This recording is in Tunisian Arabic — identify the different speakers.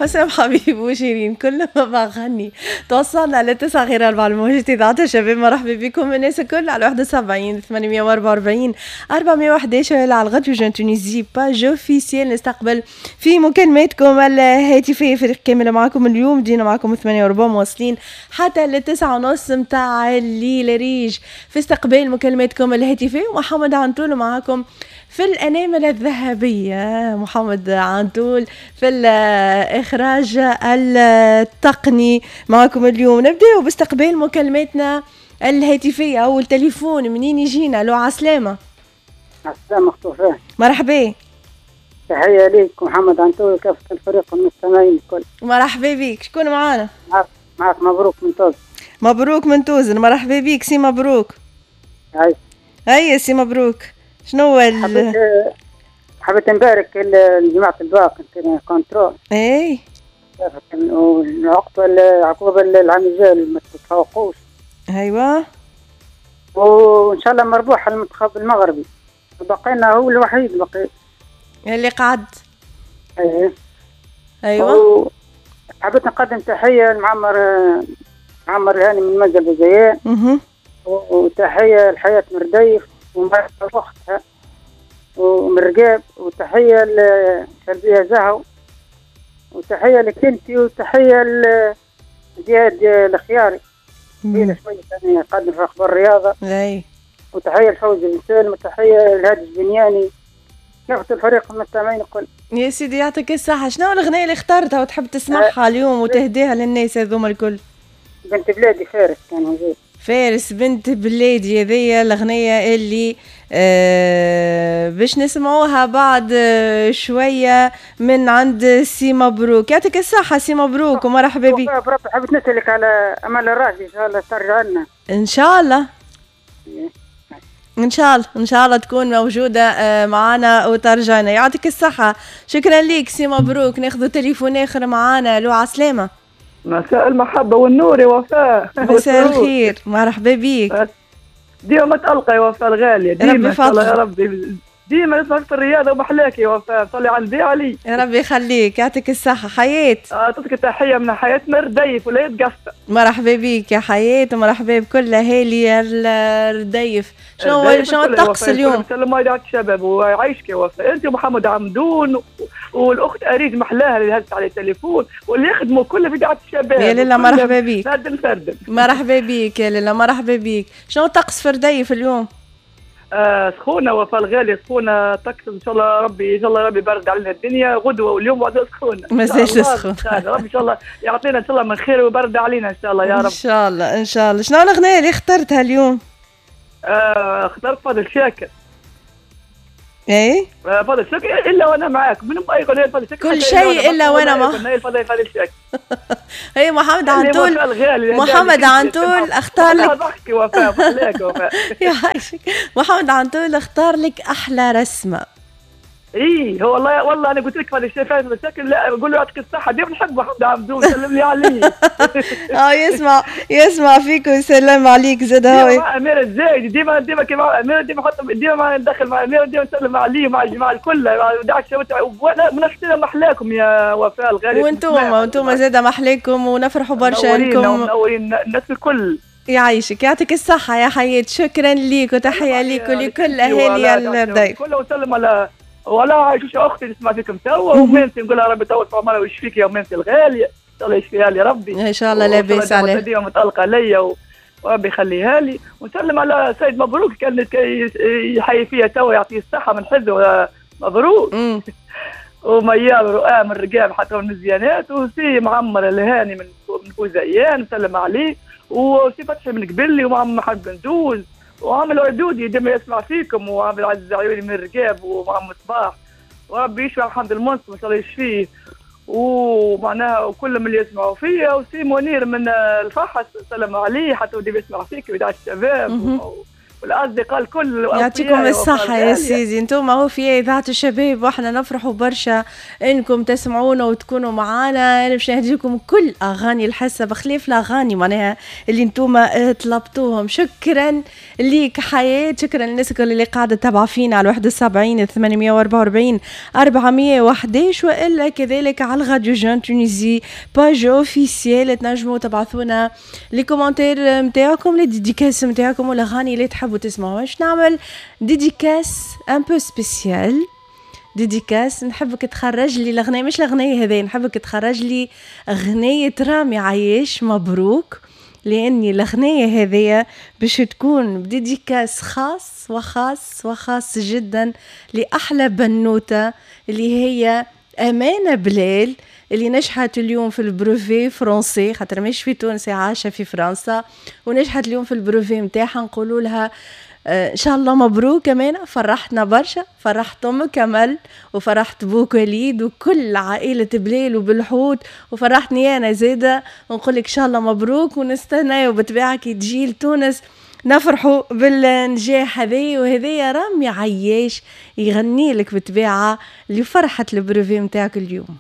Speaker 1: حسام حبيب وشيرين كل ما بغني. توصلنا ل8:45 الموجة إذاعة الشباب. مرحبا بكم الناس الكل على 71 844 411 على الغد Jeune Tunisie page officielle. نستقبل في مكالماتكم الهاتفية، فريق كامل معكم اليوم، دينا معكم 8:15 مواصلين حتى ل9:30 متاع الليل. ريج في استقبال مكالماتكم الهاتفية، ومحمد عنتول معكم في الأنامل الذهبية، محمد عنتول في الإخراج التقني معكم اليوم. نبدأ باستقبال مكالماتنا الهاتفية. أول تليفون منين يجينا؟ لو عسلامة.
Speaker 2: عسلامة أخت.
Speaker 1: مرحبا.
Speaker 2: تحية ليك محمد عنتول وكافة الفريق المستمعين الكل.
Speaker 1: مرحبا بك. شكون معانا؟
Speaker 2: معك مبروك من توزن.
Speaker 1: مبروك من توزن، مرحبا بك سي مبروك.
Speaker 2: هاي
Speaker 1: هيا سي مبروك، شنو
Speaker 2: حبيت نبارك لجماعة الباك contrôle.
Speaker 1: اي
Speaker 2: والعقوبة العام الجاي ما تتفوقوش.
Speaker 1: ايوا،
Speaker 2: وان شاء الله مربوح المنتخب المغربي، بقينا هو الوحيد بقي
Speaker 1: اللي قعد.
Speaker 2: ايه
Speaker 1: ايوا.
Speaker 2: حبيت نقدم تحية لمعمر معمر الهاني من منزل بوزيان، وتحية لحياة مرديف ومع اختها ومن رقاب، وتحية لشربية زهو، وتحية لكنتي، وتحية لزياد الخياري شوية ثانية يقدم في أخبار الرياضة.
Speaker 1: أي.
Speaker 2: وتحية لفوزي بن سالم، وتحية لهادي البنياني، كافة الفريق المستمعين الكل.
Speaker 1: يا سيدي يعطيك الصحة. شنو الأغنية اللي اخترتها وتحب تسمعها اليوم وتهديها للناس هذوما الكل؟
Speaker 2: بنت بلادي فارس كان موجود.
Speaker 1: فارس بنت بلادي، هذيا الأغنية اللي باش نسمعوها بعد شوية من عند سي مبروك. يعطيك الصحة سي مبروك ومرحبا بك.
Speaker 2: حبيت نسألك على أمل الراجل، إن شاء الله ترجع لنا.
Speaker 1: إن شاء الله إن شاء الله، إن شاء الله تكون موجودة معنا وترجعنا. يعطيك الصحة، شكرا لك سي مبروك. ناخذ تليفون آخر معنا. لو عسلامة.
Speaker 3: مساء المحبة والنور يا وفاء.
Speaker 1: مساء الخير، مرحبا بيك.
Speaker 3: ديما متألقة يا وفاء الغالية، ديما يا ربي، ديما نسمعك في الرياضة ومحلاك يا وفاء، صلي على النبي علي.
Speaker 1: يا ربي يخليك، يعطيك الصحة حياة.
Speaker 3: أعطيك تحية من حياة مرديف ولاية قفصة.
Speaker 1: مرحبا بيك يا حياة، ومرحبا بكل أهالي الرديف. شنو الطقس اليوم؟
Speaker 3: سلام على الشباب ويعيشك يا وفاء، أنت ومحمد عمدون والأخت أريج محلاها اللي هزت على التليفون واللي يخدموا كل في دعاية الشباب.
Speaker 1: يا لاله مرحبا بيك.
Speaker 3: فردن فردن.
Speaker 1: مرحبا بيك يا لاله، مرحبا بيك. شنو الطقس في رديف اليوم؟
Speaker 3: سخونة وفاء الغالية، سخونة طقس إن شاء الله ربي، إن شاء الله ربي يبرد علينا الدنيا غدوة واليوم بعد سخونة.
Speaker 1: مازال سخون.
Speaker 3: ربي إن شاء الله يعطينا إن شاء الله من خير ويبرد علينا إن شاء الله يا رب.
Speaker 1: إن شاء الله إن شاء الله. شنو الأغنية اللي اخترتها اليوم؟
Speaker 3: اخترت فاضل شاكر.
Speaker 1: ايه؟
Speaker 3: فاضل شاكر إلا وأنا معاك، من أي أغنية فاضل شاكر؟
Speaker 1: كل شيء إلا وأنا معاك.
Speaker 3: فاضل شاكر.
Speaker 1: هي محمد عنتول، محمد عنتول اختار لك.
Speaker 3: ضحكي وفاء، محلاك وفاء.
Speaker 1: يعيشك. محمد عنتول اختار لك أحلى رسمة.
Speaker 3: ايه هو والله، والله انا قلت لك فاضل شاكر، لا بقول له يعطيك الصحة، ديما نحب محمد عبدون، سلم لي عليه.
Speaker 1: يسمع يسمع فيك ويسلم عليك زاد.
Speaker 3: هو مع أميرة الزايد ديما، ديما كي مع أميرة ديما حط ديما ندخل مع أميرة ديما نسلم عليه ومع الجماعة الكل. منافسنا محلاكم يا وفاء الغالية.
Speaker 1: وانتم زاد محلاكم ونفرحوا برشا انكم
Speaker 3: منورين الناس الكل.
Speaker 1: يعيشك، يعطيك الصحة يا حياة، شكرا ليك وتحية ليك ولكل أهالي الرديف.
Speaker 3: كل وسلم على ولا عايشوش اختي تسمع فيكم توا، ومنتي نقول لها ربي يطول في عمرها ويشفيك يا مامتي الغالية، ان شاء الله يشفيها لي ربي
Speaker 1: ان شاء الله. لاباس عليها
Speaker 3: ديما متالقه ليا وربي يخليها لي. ونسلم على سيد مبروك كان يحيي فيها توا، يعطيه الصحة من حزه مبروك. وميار رؤى من الرقاب حتى من المزيانات، وسي معمر الهاني من بوزيان نسلم عليه، وسي فتحي من قبلي، ومعمر محمد بندوز، وعامل عدودي ديما يسمع فيكم، وعامل عزيز عيوني من الرقاب، ومعمر مصباح، وربي يشفي محمد المنصف ان شاء الله يشفيه، ومعناها وكل من اللي يسمعوا فيا، وسي منير من الفحص سلم عليه حتى ودي يسمع فيك ويدعي الشباب. والاصدقاء الكل.
Speaker 1: يعطيكم الصحة يا سيدي، انتم هو في إذاعة الشباب واحنا نفرحوا برشا انكم تسمعونا وتكونوا معانا. انا باش نهديكم كل اغاني الحصة بخلاف الاغاني معناها اللي انتم طلبتوهم. شكرا ليك حياة، شكرا للناس الكل اللي قاعدة تتابع فينا على 71 844 411، والا كذلك على Radio Jeune Tunisie page officielle. تنجموا تبعثونا les commentaires نتاعكم، les dédicaces نتاعكم والاغاني اللي تحبوا تسمعوها. باش نعمل dédicace un peu spéciale، dédicace نحبك تخرج لي الاغنيه، مش الاغنية هذه، نحبك تخرج لي اغنية رامي عياش مبروك، لاني الاغنية هذه باش تكون ب dédicace خاص وخاص وخاص جدا لاحلى بنوته اللي هي امانه بلال، اللي نجحت اليوم في ال brevet français، خاطر مش في تونس، عايشه في فرنسا، ونجحت اليوم في ال brevet نتاعها. نقولوا لها ان شاء الله مبروك كمان، فرحتنا برشا، فرحت امك كمال وفرحت بوك وليد وكل عائلة بليل وبالحوت، وفرحتني انا زاده. ونقول لك ان شاء الله مبروك، ونستنى وبالطبيعه كي تجي لتونس نفرحوا بالنجاح هذي. وهذايا رامي عياش يغني لك بالطبيعة لفرحه ال brevet نتاعك اليوم.